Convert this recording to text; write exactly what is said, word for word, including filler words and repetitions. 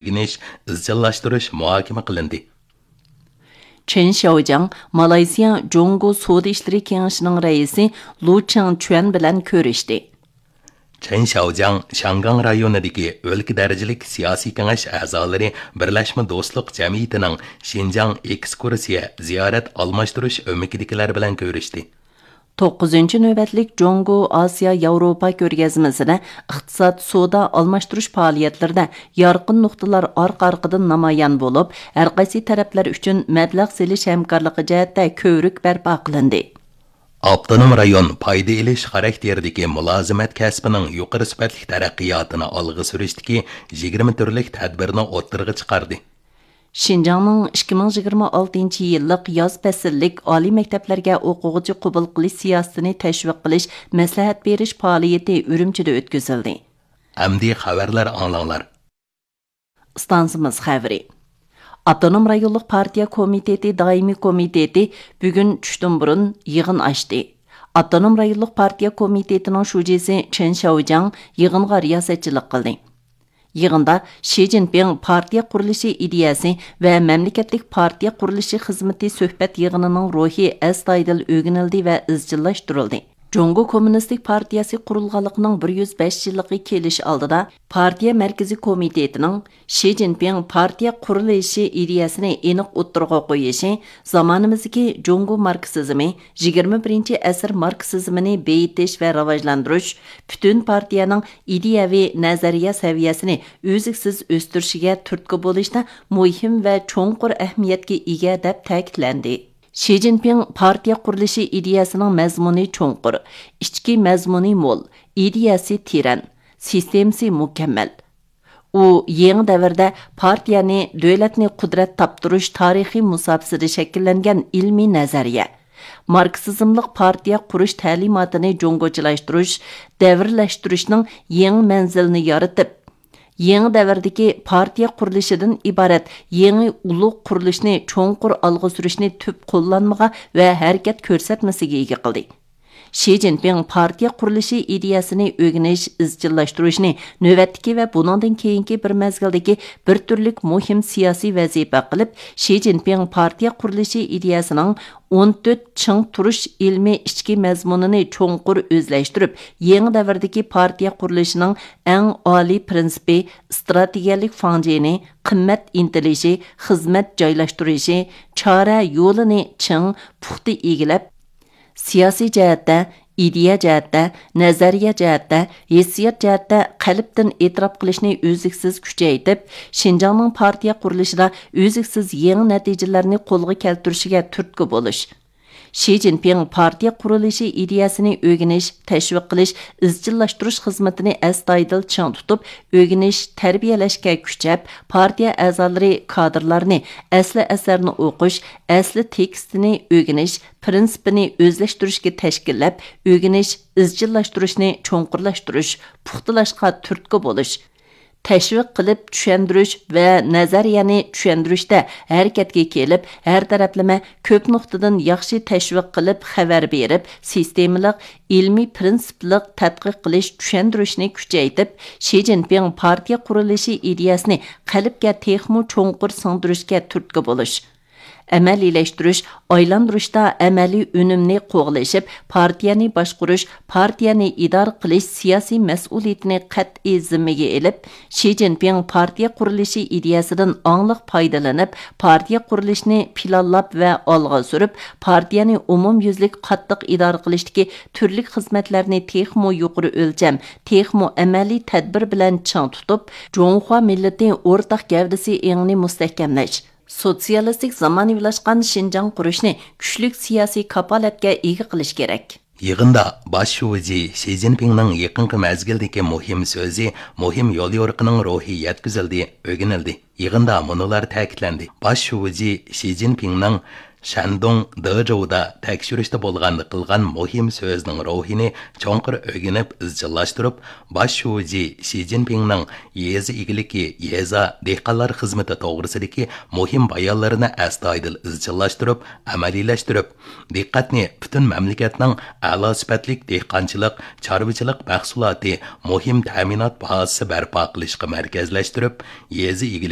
ئۆگىنىش، ئىزچىللاشتۇرۇش مۇھاكىمە قىلىندى. چېن شياۋجياڭ مالايزىيە جۇڭگو سودا ئىشلىرى كېڭىشىنىڭ رەئىسى لۇ چىڭچۈەن بىلەن كۆرۈشتى. چېن شياۋجياڭ شياڭگاڭ رايونىدىكى ئۆلكە دەرىجىلىك سىياسىي كېڭەش ئەزالىرى بىرلەشمە دوستلۇق جەمئىيىتىنىڭ شىنجاڭ ئېكسكۇرسىيە زىيارەت ئالماشتۇرۇش ئۆمىكىدىكىلەر بىلەن كۆرۈشتى. توققۇزىنچى نۆۋەتلىك جۇڭگو ئاسىيا ياۋروپا كۆرگەزمىسىدە ئىقتىساد، سودا ئالماشتۇرۇش پائالىيەتلىرىدە يارقىن نۇقتىلار ئارقا-ئارقىدىن نامايان بولۇپ، ھەرقايسى تەرەپلەر ئۈچۈن مەبلەغ سېلىش ھەمكارلىقى جەھەتتە كۆۋرۈك بەرپا قىلىندى. ئاپتونوم رايون پايدا ئېلىش خاراكتېرىدىكى مۇلازىمەت كەسپىنىڭ يۇقىرى سۈپەتلىك تەرەققىياتىنى ئالغا سۈرۈشتىكى يىگىرمە تۈرلۈك تەدبىرنى ئوتتۇرىغا چىقاردى. شىنجاڭنىڭ ئىككى مىڭ يىگىرمە ئالتىنچى يىللىق ياز پەسىللىك ئالىي مەكتەپلەرگە ئوقۇغۇچى قوبۇل قىلىش سىياسىتىنى تەشۋىق قىلىش، مەسلىھەت بېرىش پائالىيىتى ئۈرۈمچىدە ئۆتكۈزۈلدى. ئەمدى خەۋەرلەر ئاڭلاڭلار. ئىستانسىمىز خەۋىرى. ئاپتونوم رايونلۇق پارتىيە كومىتېتى دائىمىي كومىتېتى بۈگۈن چۈشتىن بۇرۇن يىغىن ئاچتى. ئاپتونوم رايونلۇق پارتىيە كومىتېتىنىڭ شۇجىسى چېن شياۋجياڭ يىغىنغا رىياسەتچىلىك قىلدى. يىغىندا شى جىنپىڭ پارتىيە قۇرۇلۇشى ئىدىيەسى ۋە مەملىكەتلىك پارتىيە قۇرۇلۇشى خىزمىتى سۆھبەت يىغىنىنىڭ روھى ئەستايىدىل ئۆگىنىلدى ۋە ئىزچىللاشتۇرۇلدى. جۇڭگو كوممۇنىستىك پارتىيەسى قۇرۇلغانلىقىنىڭ بىر يۈز بەش يىللىقى كېلىش ئالدىدا، پارتىيە مەركىزىي كومىتېتىنىڭ شى جىنپىڭ پارتىيە قۇرۇلۇشى ئىدىيەسىنى ئېنىق ئوتتۇرىغا قويۇشى، زامانىمىزدىكى جۇڭگو ماركسىزمى، يىگىرمە بىرىنچى ئەسىر ماركسىزمىنى بېيىتىش ۋە راۋاجلاندۇرۇش، پۈتۈن پارتىيەنىڭ ئىدىيەۋى نەزەرىيە سەۋىيەسىنى ئۈزلۈكسىز ئۆستۈرۈشىگە تۈرتكە بولۇشتا مۇھىم ۋە چوڭقۇر ئەھمىيەتكە ئىگە، دەپ تەكىتلەندى. شى جىنپىڭ پارتىيە قۇرۇلۇشى ئىدىيەسىنىڭ مەزمۇنى چوڭقۇر، ئىچكى مەزمۇنى مول، ئىدىيەسى تېرەن، سىستېمىسى مۇكەممەل. ئۇ يېڭى دەۋردە پارتىيەنى دۆلەتنى قۇدرەت تاپتۇرۇش تارىخىي مۇساپىسىدە شەكىللەنگەن ئىلمىي نەزەرىيە، ماركسىزملىق پارتىيە قۇرۇش تەلىماتىنى جۇڭگوچىلاشتۇرۇش، دەۋرلەشتۈرۈشنىڭ يېڭى مەنزىلىنى يارىتىپ، يېڭى دەۋردىكى پارتىيە قۇرۇلۇشىدىن ئىبارەت يېڭى ئۇلۇغ قۇرۇلۇشنى چوڭقۇر ئالغا سۈرۈشنى تۈپ قوللانمىغا ۋە ھەرىكەت كۆرسەتمىسىگە ئىگە قىلدى. شى جىنپىڭ پارتىيە قۇرۇلۇشى ئىدىيەسىنى ئۆگىنىش، ئىزچىللاشتۇرۇشنى نۆۋەتتىكى ۋە بۇنىڭدىن كېيىنكى بىر مەزگىلدىكى بىر تۈرلۈك مۇھىم سىياسىي ۋەزىپە قىلىپ، شى جىنپىڭ پارتىيە قۇرۇلۇشى ئىدىيەسىنىڭ ئون تۆت چىڭ تۇرۇش ئىلمىي ئىچكى مەزمۇنىنى چوڭقۇر ئۆزلەشتۈرۈپ، يېڭى دەۋردىكى پارتىيە قۇرۇلۇشىنىڭ ئەڭ ئالىي پىرىنسىپى، ئىستراتېگىيەلىك فاڭجېنى، قىممەت ئىنتىلىشى، خىزمەت جايلاشتۇرۇشى، چارە يولىنى چىڭ، پۇختا ئىگىلەپ، سىياسىي جەھەتتە، ئىدىيە جەھەتتە، نەزەرىيە جەھەتتە، ھېسسىيات جەھەتتە قەلبتىن ئېتىراپ قىلىشنى ئۈزلۈكسىز كۈچەيتىپ، شىنجاڭنىڭ پارتىيە قۇرۇلۇشىدا ئۈزلۈكسىز يېڭى نەتىجىلەرنى قولغا كەلتۈرۈشىگە تۈرتكە بولۇش. شى جىنپىڭ پارتىيە قۇرۇلۇشى ئىدىيەسىنى ئۆگىنىش، تەشۋىق قىلىش، ئىزچىللاشتۇرۇش خىزمىتىنى ئەستايىدىل چىڭ تۇتۇپ، ئۆگىنىش، تەربىيەلەشكە كۈچەپ، پارتىيە ئەزالىرى، كادىرلارنى ئەسلى ئەسەرنى ئوقۇش، ئەسلى تېكىستىنى ئۆگىنىش، پىرىنسىپىنى ئۆزلەشتۈرۈشكە تەشكىللەپ، ئۆگىنىش، ئىزچىللاشتۇرۇشنى چوڭقۇرلاشتۇرۇش، پۇختىلاشقا تۈرتكە بولۇش، تەشۋىق قىلىپ چۈشەندۈرۈش ۋە نەزەرىيەنى چۈشەندۈرۈشتە ھەرىكەتكە كېلىپ، ھەر تەرەپلىمە كۆپ نۇقتىدىن ياخشى تەشۋىق قىلىپ، خەۋەر بېرىپ، سىستېمىلىق، ئىلمىي پىرىنسىپلىق تەتقىق قىلىش، چۈشەندۈرۈشنى كۈچەيتىپ، شى جىنپىڭ پارتىيە قۇرۇلۇشى ئىدىيەسىنى قەلبكە تېخىمۇ چوڭقۇر سىڭدۈرۈشكە تۈرتكە بولۇش. ئەمەلىيلەشتۈرۈش، ئايلاندۇرۇشتا ئەمەلىي ئۈنۈمنى قوغلىشىپ، پارتىيەنى باشقۇرۇش، پارتىيەنى ئىدارە قىلىش سىياسىي مەسئۇلىيىتىنى قەتئىي زىممىگە ئېلىپ، شى جىنپىڭ پارتىيە قۇرۇلۇشى ئىدىيەسىدىن ئاڭلىق پايدىلىنىپ، پارتىيە قۇرۇلۇشىنى پىلانلاپ ۋە ئالغا سۈرۈپ، پارتىيەنى ئومۇميۈزلۈك قاتتىق ئىدارە قىلىشتىكى تۈرلۈك خىزمەتلەرنى تېخىمۇ يۇقىرى ئۆلچەم، تېخىمۇ ئەمەلىي تەدبىر بىلەن چىڭ تۇتۇپ، جۇڭخۇا مىللىتى ئورتاق گەۋدىسى ئېڭىنى مۇستەھكەملەش، سوتسىيالىستىك زامانىۋىلاشقان شىنجاڭ قۇرۇشنى كۈچلۈك سىياسىي كاپالەتكە ئىگە قىلىش كېرەك. يىغىندا باش شۇجى شى جىنپىڭنىڭ يېقىنقى مەزگىلدىكى مۇھىم سۆزى، مۇھىم يوليورۇقىنىڭ روھى يەتكۈزۈلدى، ئۆگىنىلدى. يىغىندا مۇنۇلار تەكىتلەندى: باش شۇجى شى جىنپىڭنىڭ شەندۇڭ دېجۇدا تەكشۈرۈشتە بولغاندا قىلغان مۇھىم سۆزىنىڭ روھىنى چوڭقۇر ئۆگىنىپ ئىزچىللاشتۇرۇپ، باش شۇجى شى جىنپىڭنىڭ يېزا ئىگىلىكى، يېزا، دېھقانلار خىزمىتى توغرىسىدىكى مۇھىم بايانلىرىنى ئەستايىدىل ئىزچىللاشتۇرۇپ، ئەمەلىيلەشتۈرۈپ، دىققەتنى پۈتۈن مەملىكەتنىڭ ئەلا سۈپەتلىك دېھقانچىلىق، چارۋىچىلىق مەھسۇلاتى، مۇھىم تەمىنات بازىسى بەرپا قىلىشقا مەركەزلەشتۈرۈپ، يېزا ئىگىلىكى